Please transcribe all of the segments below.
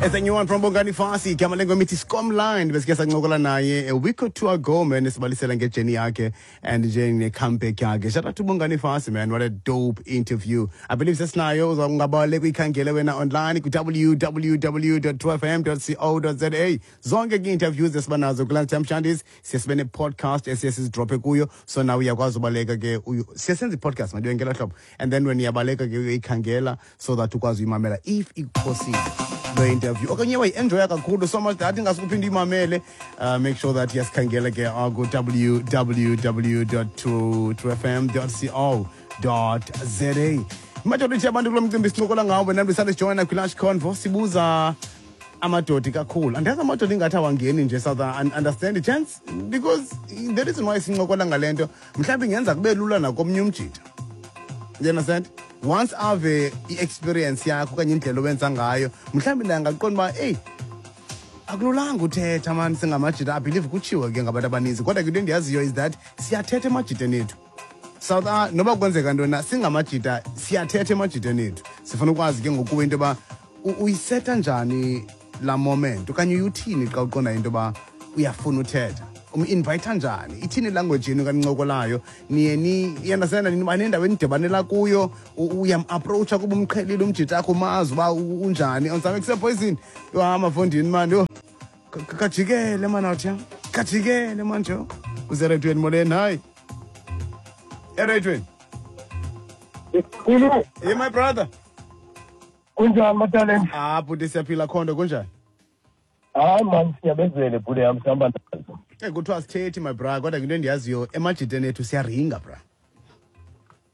It's a new one from Bongani Fasi. Igama lengoma ithi Scomline. Besike sancokola naye a week or two ago, man, esibalisela ngejourney yakhe and nje ne-comeback yakhe. Shout out to Bongani Fasi, man. What a dope interview. I believe sesinayo uzawungabale kuyikhangele wena online ku-www.2fm.co.za. Zonke ke interviews esibanazo kula Shandis siye sibe ne-podcast esiye sizidrophe kuyo, so nawe uyakwazi ubaleka ke siye senze i-podcast mandiyo ngela hlobo, and then when uyabaleka ke uyoyikhangela so that ukwazi uyimamela if ikuphosile lo interview okanye wayi-enjoya kakhulu so much that ingasukuphinde uyimamele. Make sure that yasikhangela ke ku-www.2fm.co.za. Majority yabantu kulo mcimbi sincokola ngawo wena ndisale kwi-lunch convo, sibuza amadoda kakhulu. Andiyazi, amadoda ingathi awangeni nje south understand chance, because the reason why sincokola ngale nto mhlawumbi ingenza kube lula nakomnye umjita, you understand? Once ave i-experience yakho okanye indlela owenza ngayo, mhlawumbi naye angaqonda uba eyi, akululanga uthetha mani singamajita. I believe kutshiwo ke ngabantu abaninzi, kodwa ke into endiyaziyo is that siyathetha emajiteni ethu South noba kwenzeka ntoni na, singamajita siyathetha emajiteni ethu. Sifuna ukwazi ke ngokuwe into yoba uyiseta njani laa moment okanye uyuthini xa uqonda into yoba uyafuna uthetha, um-invayitha njani, ithini ilanguage yenu kanincokolayo, niye ni uyandastanda niba nendawo enidibanela kuyo, uyam-approacha kuba umqhelile umjita akho, umazi uba unjani. Onzame kusepoison yho, hamba fondini mani, yho, kajikele mani, awuthi kajikele mani, jo useredweni. Molweni, hayi, eredweni. Khulu. Hey, my brother. Kunjani, mataleni? Ah, bhuti, siyaphila khondo, kunjani? Hayi man, siyabezele bhuti yam, sihamba nazo. Kuthiwa sithethi, my bra, kodwa into endiyaziyo, emajiteni ethu siyaringa, bra.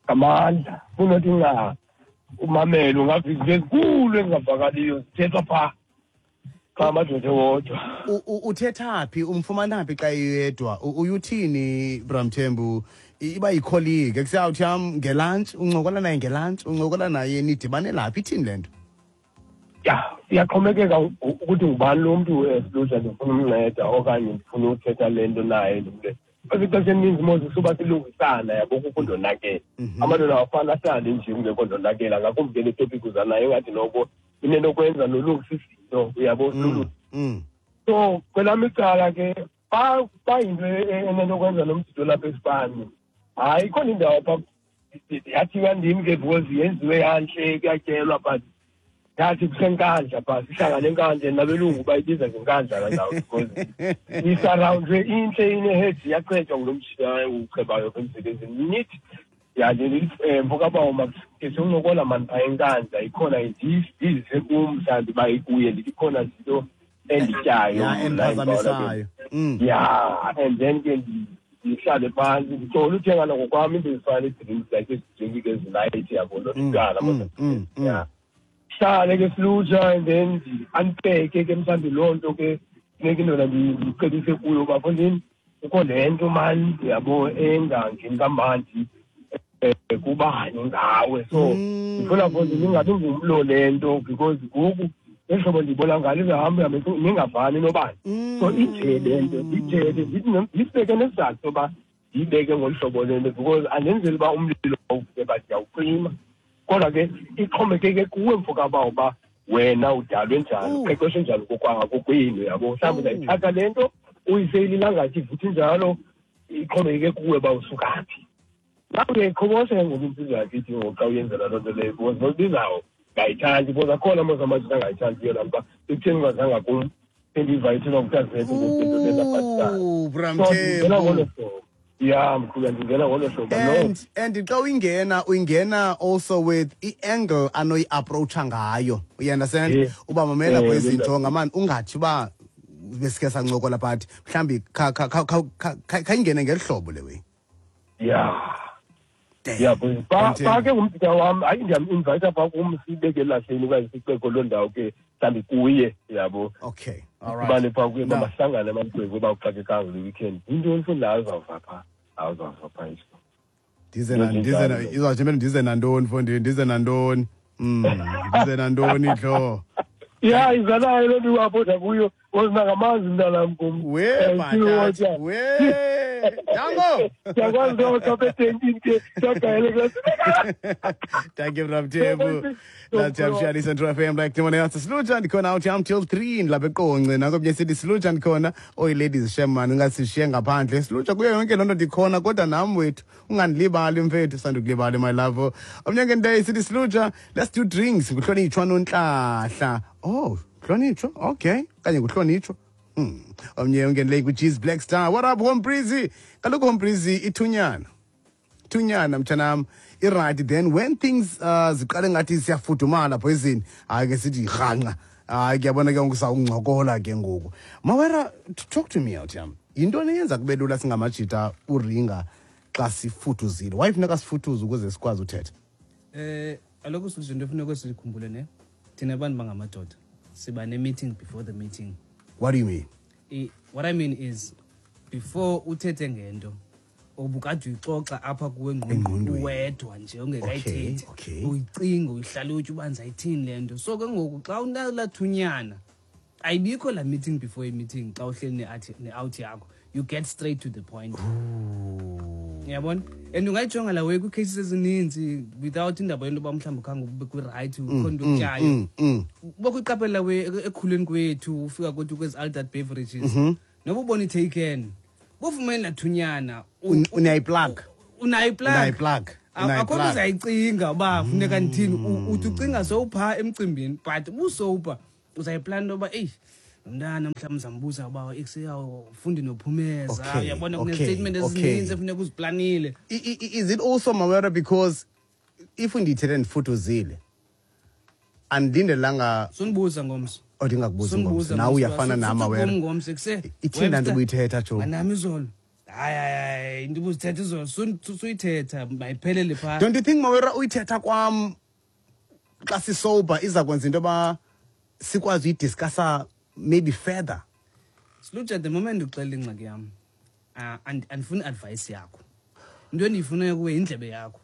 Ngamandla kunothi nca umamele, ungava izinto ezinkulu ezingavakaliyo zithethwa phaa xa amadoda ewodwa. Uthetha phi, umfumana phi xa eyedwa? Uyuthini, Bramthembu? Iba yicolleague ekuseyawuthi yam ngelantshi, uncokola naye ngelantshi, uncokola naye, nidibane laphi, ithini le nto? Ya, iyaxhomekeka ukuthi ngubani lo mntu esilutsha ndifuna umnceda okanye ndifuna uthetha le nto naye. Ndimle because ixesha elininzi mos suba silungisana, yabo, kukho ndonakele. Amadoda awafani ahlale nje kungekho ndonakela, ngakumbi ke le topic uza nayo ingathi noko inento kwenza nolungisa izinto, uyabo. So kwelam icala ke, xa yinto enento kwenza nomjito lapha esipani, hayi, ikhona indawo pha yathiwa ndim ke because yenziwe yantle, kuyatyelwa, but yathi kuseNkandla phaa, sihlangane eNkandla nabelungu, bayibiza ngeNkandla laa ndawo because isurroundwe, intle, ineheji, iyachetywa ngulo mjita uchebayo pha emsebenzini. Nithi ya nje, mfokabawo, makhe sincokola mani phaa eNkandla, ikhona ndizise kum mhlawumbi uba ikuye, ndithi ikhona zinto endityayo ya mna endiphazamisayo. Ya, and then ke ndihlale phantsi ndicole uthenga nangokwam into ezifana nee-drinks, like ezi-drink ke ezilight, yabo, notywala. Ya, hlale ke silutsha and then ndi-unpacke ke mhlawumbi loo nto ke funeka indoda ndicebise kuyo uba fondini kukho le nto mani, yabo, engangeni kamandi kubani ngawe, so ndifuna fondini ingabi ngumlo le nto because ngoku ngehlobo ndiyibona ngalo izahamba ihambe ningavani nobani. So ije le nto ndithethe, ndithi ndisibeke nesizathu soba ndiyibeke ngolu hlobo le nto because andenzeli uba umlilo uvuke, but ndiyawucima. Kodwa ke ixhomekeke kuwe, mfokabawo, uba wena udalwe njani, uqeqeshwe njani kokwenu, yabo. Mhlawumbi uzayithatha le nto uyiseyile ilangathi ivutha injalo, ixhomekeke kuwe uba usuka phi. Nawe uyayiqhobosha ke ngoku insizwa yakithi ngoku xa uyenzela loo nto leyo, because nobizawo ngayithandi, because akhona mos amajita angayithandiyo laa nto uba ekutheni ungazanga kum, sendiyiva ithethwa ngutazethu ngento lezabhatisana. Ooh, So ndingena Bramthembu. ngolo hlobo, ya, mkhulu, ndingena ngolo hlobo, no. And xa uyingena, uyingena also with i-angle anoyi-approacha ngayo, you understand? Uba mamela kwezinto ngamani, ungathi uba besike sancokola, but mhlawumbi khayingene ngeli hlobo le way. Damn. Ya, because Bramthembu. pha ke ngumjita wam, hayi, ndiyam-invayitha phaa kum, sibeke elahleni okanye siceko loo ndawo ke mhlawumbi kuye, yabo. Okay, all right. Sibane phaa kuye, Now- mabahlangane amagwebu uba uxakekanga le weekend, yintoni fundi, awuzawuva phaa, awuzawuva phaa iso. Ndize na ndize na izawuthi mele ndize nantoni mfondini, ndize nantoni, ndize nantoni dlo? Ya, izalayo loo nto iwaphoda kuyo ozinangamanzi mntanam kum. We Still batata water. we. Dango. Ndiyakwazi nto apha etenkini ke, siyagayele. Thank you, Ramtebu. That's Shadi Central FM like no one else. Siluja ndikhona out yam till 3 ndilapha eQonce. Nakomnye sithi Siluja ndikhona. Oy ladies, shem man, ungasishiye ngaphandle. Siluja kuyo yonke loo nto ndikhona, kodwa nam wethu ungandilibali mfethu, sandukulibali my love. Omnye ke nto sithi Siluja, let's do drinks. Nguhlonitshwa Nontlahla. Oh, hlonitshwa. Okay. Kanye nguhlonitshwa. Omnye ungenele ku-G's Black Star. What up, Home Breezy? Kaloku Home Breezy ithunyana. Thunyana mtshanam, i-right. Then when things ziqale ngathi siyafudumala poison, hayi ke sithi rhanqa, hayi kuyabona ke ngoku sawuncokola ke ngoku. Mawera, talk to me out yam, yintoni eyenza kube lula singamajita uringa xa sifuduzile? Why funeka sifuduze ukuze sikwazi uthetha? Kaloku sizinto into efuneka sikhumbule ne, thina bantu bangamadoda siba ne-meeting before the meeting. What do you mean? What I mean is, before uthethe ngento obukade uyixoxa apha kuwe engqondweni, Engqondweni. Wedwa nje ongekayithethi, uyicinga, uyihlalutye uba ndizayithini le nto. So ke ngoku xa unalathunyana, ayibikho laa meeting before i-meeting. Xa uhleli ne-out yakho, you get straight to the point, uyabona? And ungayijonga la way kwii-cases ezininzi without indaba yento yoba mhlawumbi khange ube kwi-right, ukhona into okutyayo. Ubekho iqaphela we ekukhuleni kwethu, ufika kwethu kwezi adult beverages, noba ubona i-taken, bufumene lathunyana. Unayi-plug. Unayi-plug. Unayi-plug. Akho nto Unayi-plug. uzayicinga uba funeka ndithini. Uthi ucinga sowuphaa emcimbini, but ubusowupha uzayiplana into yoba eyi, lo mntana mhlawumbi uzambuza uba ekuseyafundi nophumeza. Uyabona, kunezi-statement ezininzi efuneka uziplanile. Is it also, Mawera, because if ndithethe ndifuduzile, andindelanga? Sunibuza ngomso. Oh, ndingakubuzi ngomso. Sunibuza Nawe ngomso. uyafana nam, Mawera. Kum ngomso kuse Ithini laa nto Webster, ubuyithetha, Joe? Manami izolo, hayi hayi hayi, into ubuzithetha izolo suyithetha mayiphelele phaa. Don't you think, Mawera, uyithetha kwam xa sisober iza kwenza into yoba sikwazi uyidiscussa maybe further? Silutsha, the moment uxelela ingxaki yam, andifuni advice yakho. Into endiyifunayo kuwe yindlebe yakho.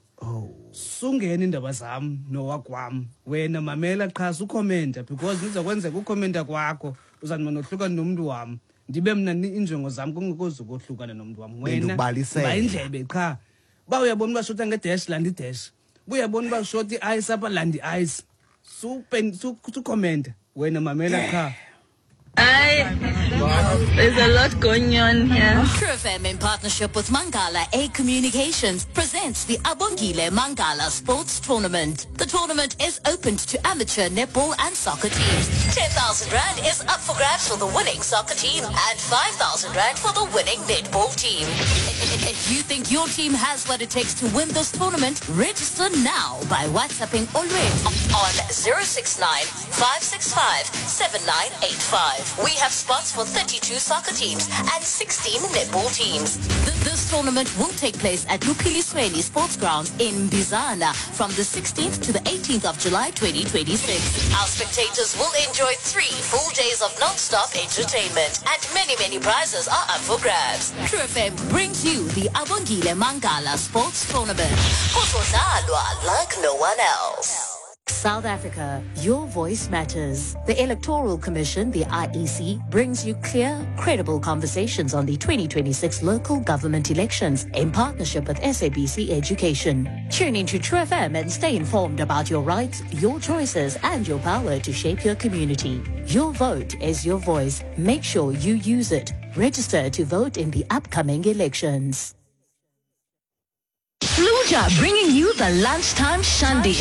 Sungena iindaba zam nowakwam, wena mamela qha, sukhomenta, because iza kwenzeka ukhomenta kwakho uzawuba nohlukana nomntu wam, ndibe mna iinjongo zam kungekho kohlukana nomntu wam. Wena Bendikubalisela. ba indlebe qha. Uba uyabona uba shota ngedash, landa idash. Uba uyabona uba shota i-ice apha, landa i-ice. Sukhomenta, wena mamela qha. Hi. There's a lot going on here. True FM, in partnership with Mangala A Communications, presents the Abongile Mangala Sports Tournament. The tournament is open to amateur netball and soccer teams. 10,000 Rand is up for grabs for the winning soccer team and 5,000 Rand for the winning netball team. If you think your team has what it takes to win this tournament, register now by WhatsApping Olwethu on 069 565 7985. We have spots for 32 soccer teams and 16 netball teams. This tournament will take place at Lupilisweni Sports Grounds in Bizana from the 16th to the 18th of July 2026. Our spectators will enjoy 3 full days of non-stop entertainment, and many, many prizes are up for grabs. True FM brings you the Abongile Mangala Sports Tournament. Kuzodlalwa like no one else. South Africa, your voice matters. The Electoral Commission, the IEC, brings you clear, credible conversations on the 2026 local government elections in partnership with SABC Education. Tune into True FM and stay informed about your rights, your choices, and your power to shape your community. Your vote is your voice. Make sure you use it. Register to vote in the upcoming elections. Fluja bringing you the lunchtime shandy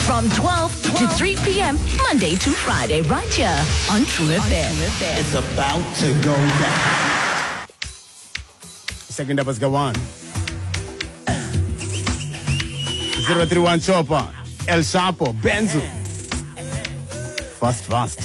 from 12 to 3 p.m. Monday to Friday, right here on True FM. It's about to go down. Second up is Gawan. 031 Chopper, El Chapo, Benzo. Fast, fast.